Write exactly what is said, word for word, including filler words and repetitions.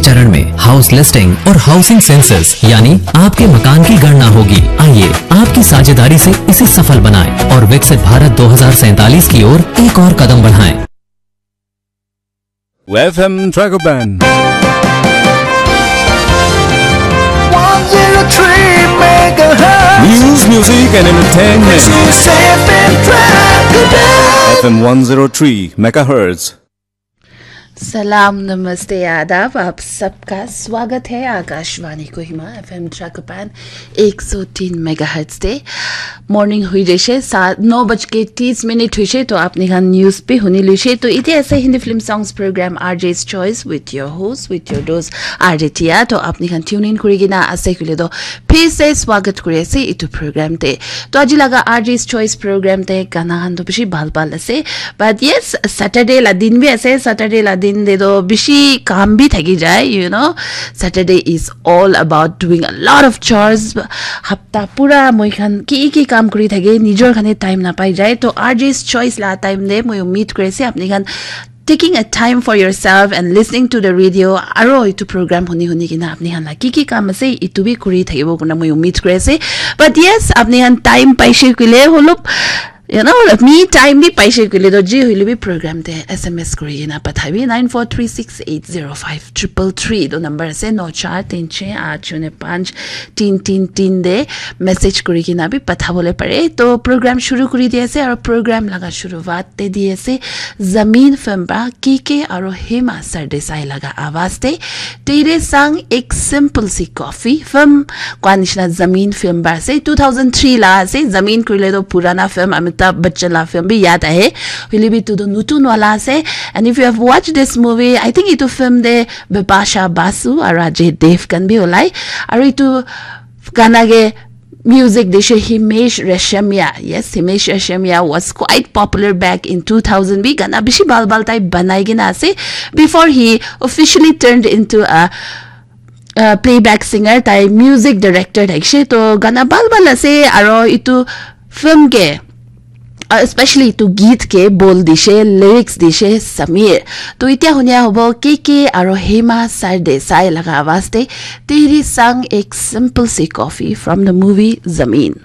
चरण में house listing और हाउसिंग सेंसस यानी आपके मकान की गणना होगी। आइए, आपकी साझेदारी से इसे सफल बनाएं और विकसित भारत दो हज़ार सैंतालीस की ओर एक और कदम बढ़ाएं। F M Tragopan. one zero three megahertz. News, music and entertainment. This is F M Tragopan. F M one zero three megahertz. सलाम, नमस्ते, आदाब। आप सबका स्वागत है आकाशवाणी कोहिमा एफ एम ट्राकपान एक सौ तीन मेगाहर्ट्ज ते। मॉर्निंग हुई जैसे सात नौ बज के तीस मिनट हुई से, तो आपने खान न्यूज़ पे हुनी लुसे। तो इते ऐसे Hindi film songs programme R Js choice with your host, with your dose R J Tia. तो आपने खान ट्यून इन करेगी ना ऐसे के लिए, तो फिर से स्वागत करे से इतु प्रोग्राम ते। तो आज लगा आरजेस चॉइस प्रोग्राम ते गाना खान तो बेसी बाल बाल ऐसे। But yes, Saturday la din bi ase, Saturday la din te to bishi kam bi thaki jai, you know. Saturday is all about doing a lot of chores. Hapta pura moi khan ki ki kam kuri thake, nijor khane time na pai jai. To R J's choice la time te moi meet kuri ase apni khan taking a time for yourself and listening to the radio, aro itu program huni huni kina apni khan la ki ki kam ase itu bi kuri thakibo kuna moi meet kuri ase. But yes, apni khan time paise kule holop, you know, me time bi paise kule to ji hoile bi program te S M S kuri kina pathabi nine four three six eight zero five triple three to number ase, no char tin chhe aat shunyo panch tin tin tin de message kuri kina bi pathabole pare. To program shuru kuri di ase, aro program laga shuruaat te di ase Zameen film ba K K aro Hema Sardesai laga awaz te Tere Sang Ek Simple Si Coffee film kwa nishina Zameen film ba ase, two thousand three la ase. Zameen kurile to purana film, Amitabh Bachchan la film bi yaad ahe, hoile bi tu to nutun wala ase. And if you have watched this movie, I think itu film de Bipasha Basu aro Ajay Devgan bi olai, aro itu gana ke music dishe Himesh Reshammiya. Yes, Himesh Reshammiya was quite popular back in two thousand bi. Gana bishi bal bal tai banai kena ase before he officially turned into a, a playback singer. Tai music director thaishe, to gana bal bal ase. Aro itu film ke, uh, especially itu geet ke bol dishe, lyrics dishe Sameer. To itya hunia hobo K K aro Hema Sardesai laga awaz te Tere Sang Ek Simple Si Coffee from the movie Zameen.